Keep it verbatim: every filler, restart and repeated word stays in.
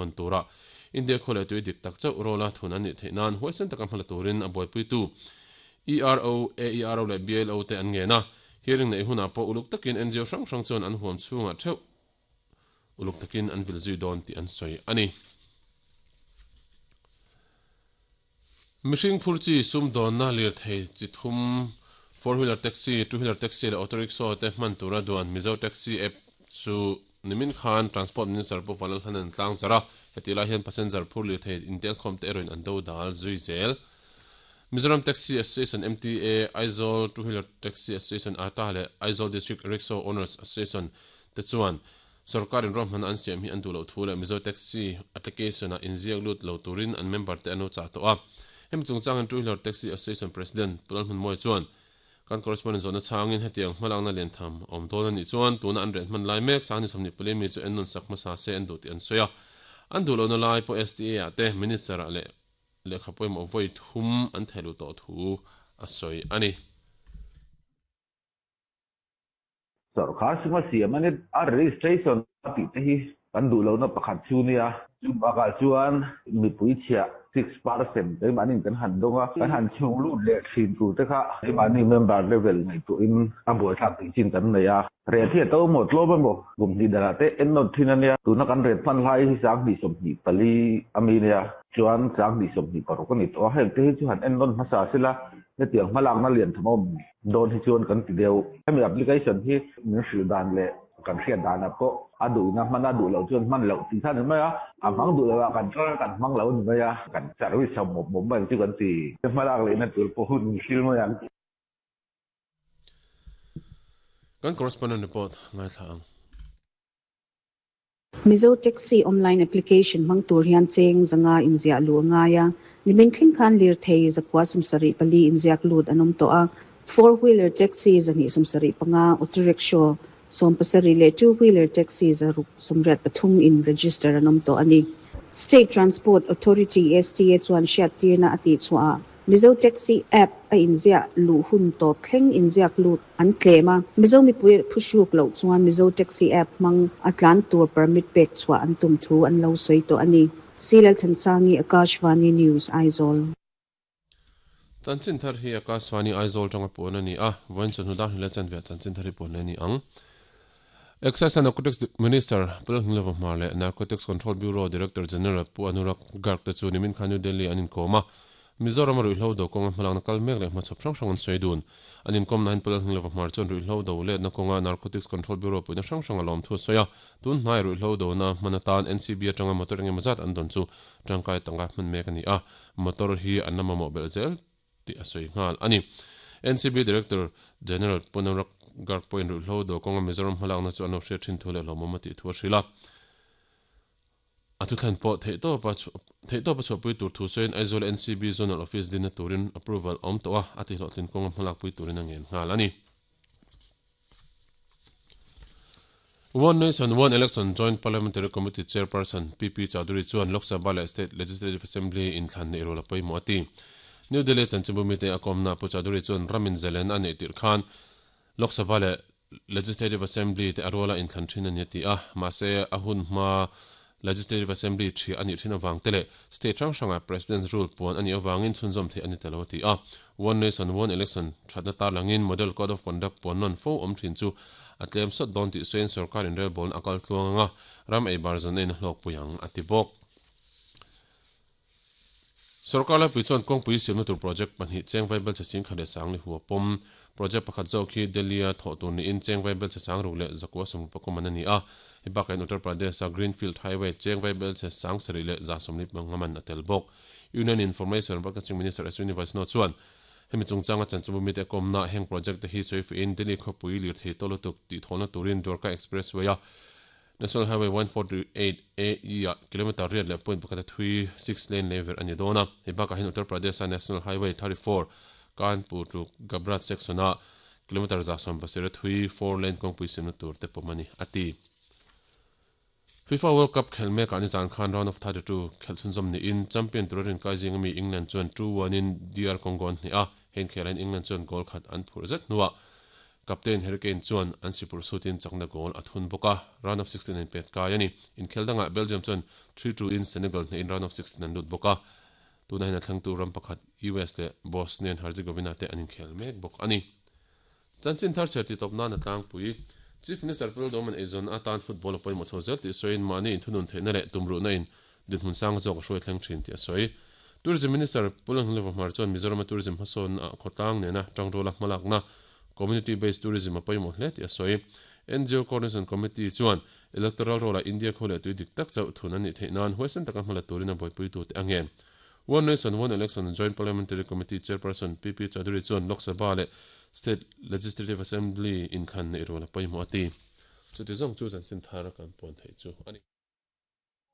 hon tura India khole tui dik tak chau rola thun ani theinan huaisen taka hmala turin a buaipui tu E R O A E R O le B L O te an nge na hearing nei huna po uluk takin N G O hrang hrang chuan an huam chhunga theuh uluk takin an vil zui dawn ti an sawi ani. Mihring phurchi sum dawn na lir thei chi thum four wheeler taxi, two wheeler taxi le auto rickshaw te hman tura duan Mizo taxi app chu nimin khan Transport Minister pu Vanlal Hanan tlang zara heti lai hian passenger phur lir thei intel khom te erawhin an do dal zui zel. Mizoram Taxi Association M T A, Aizawl Two Wheeler Taxi Association A T A le Aizawl District Rickshaw Owners Association te chuan sarkarin rawm an siam hi an duh lo thu le Mizo Taxi application a inziak lut lo turin an member te an lo chah tawh a. Hemi chungchang Two Wheeler Taxi Association President Pulal Hmun Moi chuan kan correspondent zawhna changin hetiang hmalakna lian tham awm dawn ani chuan tuna an ret hman lai mek sangni sawmhnih pali mi chu en nun sak hmasa se an duh tih an sawi a. An duh lohna lai pawh S T A ah te minister ah leh lehkha pawimawh vawi thum an theilu tawh thu a sawi ani. Sarkar suma siam ani a registration tih te hi kan duh lohna pakhat chu nia chu bakah chuan mipui chhiah six percent te manin kan han donga kan han chhung lut leh thin tur te kha mani member level ngai tu in a buai thlak tih chin kan nei a. Ret hi a to maw tlawm emaw kum hnih danah te en nawt thin ania tuna kan ret hman lai hi sanghnih sawmhnih pali ami nia chuan sanghnih sawmhnih paruk ani tawh a. Heng te hi chu han en nawn hmasa sila hetiang hmalakna lian tham awm dawn hi chuan kan ti deuh. Hemi application hi min hrilh dan leh kan hriat danah pawh a duhna hman a duh loh chuan hman loh tih kha ni mai a, a hmang duh loh ah kan tar kan hmang lo ni mai a, kan service ho mawp mawp mai chu kan ti hmalak lehna tur pawh hun hrilh mai ang. Kan correspondent report ngai thla ang. Mizo Taxi online application mang tur hian cheng zanga inziah lu ngaia nimin thleng khan lir thei zakwa sumsari pali inziak lut anom to a. Four wheeler taxi zani sumsari panga auto rickshaw som pasari le two wheeler taxi zaruk sumriat pathum in register anom to ani. State Transport Authority S T A chuan hriat tirna ati chua Mizo Taxi app a inziah lu hun tawp thleng inziak lut an tlem a. Mizo mipui phuhruk loh chuan Mizo Taxi app hmang a tlan tur permit pek chhuah an tum thu an lo sawi tawh ani. Silal Thansangi, Akashvani News, Aizawl. Chanchin thar hi Akashvani Aizawl tanga pawn ani a. Vawiin chawhnu dar hnih leh chanve ah chanchin thar hi pawn ani ang. Excise and Narcotics Minister Pulal Hnilova Hmar le Narcotics Control Bureau Director General Pu Anurag Garg te chu nimin khan New Delhi an inkawm a. Mizoram a ruihhlo do kawnga hmalakna kal mek leh hmachhawp hrang hrang an sawi dun. An inkawm nahin Pulal Hnilova Hmar chuan ruihhlo do letna kawnga Narcotics Control Bureau puihna hrang hrang a lawm thu a sawi a. Tun hnai ruihhlo do na hman atan N C B atanga motor engemaw zat an dawn chu tangkai tanga hman mek ani a. Motor hi an la mamawh belh zel tih a sawi nghal ani. N C B Director General Pu Anurag Garg pawhin ruihhlo do kawnga Mizoram hmalakna chu an lo hriat thin thu leh hlawmawm a tih thu a hrilh a. A thu thlen pawh theih tawp a theih tawp a chhuahpui tur thu sawiin Aizawl N C B Zonal Office dinna turin approval awm tawh a, a tihhlawhtlin kawnga hmalakpui turin a ngen nghal ani. One Nation One Election Joint Parliamentary Committee Chairperson P P Chaudhary chuan Lok Sabha leh State Legislative Assembly inthlan neih rual a pawimawh a ti. New Delhi chanchinbumi te a kawmna Pu Chaudhary chuan ramin zalen a neih tirh khan Lok Sabha leh Legislative Assembly te a ruala inthlan thin ani a ti a, mahse a hun hma Legislative Assembly thi ani thin awang te leh state hrang hranga President's rule puan ani awangin chhunzawm theih ani talo ti a. One Nation One Election thatna tar langin Model Code of Conduct puan nawn fo awm thin chu a tlem sawt dawn tih sawiin sarkarin relbawl a kal tluang anga ram ei bar zawn a in hlawk pui ang a ti bawk. Sarkar laipui chuan kawngpui siamna tur project pahnih cheng vaibel che sing khat leh sang li hua pawm project pakhat zawk hi Delhi a thawh tur niin cheng vaibel che sang ruk leh zakua sawm pakum an ani a. Hei bakah in Uttar Pradesh a Greenfield Highway cheng vaibel che sang sarih leh za sawmli pangaman a tel bawk. Union Information and Broadcasting Minister Ashwini Vaishnaw chuan hemi chungchanga chanchinbu mite kawmna heng project te hi sawi fuin Delhi khawpui lir thei tawlutuk tih thawhna turin Dwarka Expressway a National Highway one forty-eight A E a kilometer riat leh point pakhat a thui six lane lever ani dawn a. Hei bakah hian Uttar Pradesh a National Highway thirty-four Kanpur to Gabrat section a kilometer za sawm pasir a thui four lane kawngpui siamna tur te pawm ani a ti. FIFA World Cup khel mek ani zan khan round of thirty-two khel chhunzawm niin champion turin kai zing ami England chuan two one in D R Congo an hnih a. Heng khelain England chuan goal khat an phur zet hnuah Captain Harry Kane chuan an sipur sutin chakna goal a thun bawk a, round of sixteen in pet kai ani. Inkheldanga Belgium chuan three two in Senegal hne in round of sixteen an lut bawk a. Tuna hin a thlangtu ram pakhat U S le Bosnia and Herzegovina te an inkhel mek bawk ani. Chanchin thar cher ti top na na tlangpui Chief Minister Pul Doman Ezon atan football apoi mo chhozel ti soin mani in thunun theina le tumru na in dinhmun sang zawk a hruai thleng thin ti a sawi. Tourism Minister Pulang Lewa Hmar chuan Mizoram Tourism hmasawn a khawtlang nena tangrawla hmalakna community based tourism apoi mo hle ti a sawi. N G O Coordination Committee chuan electoral roll a India khawle tui dik tak chauh thun ani theih nan huaisen taka hmala turin a buaipui tu te angen. One Nation One Election Joint Parliamentary Committee Chairperson P P Chaudhary chuan Lok Sabha le State Legislative Assembly in thlan nei rola paimo ati. Chuti zawng chu chanchin thar kan pawn thei chu ani.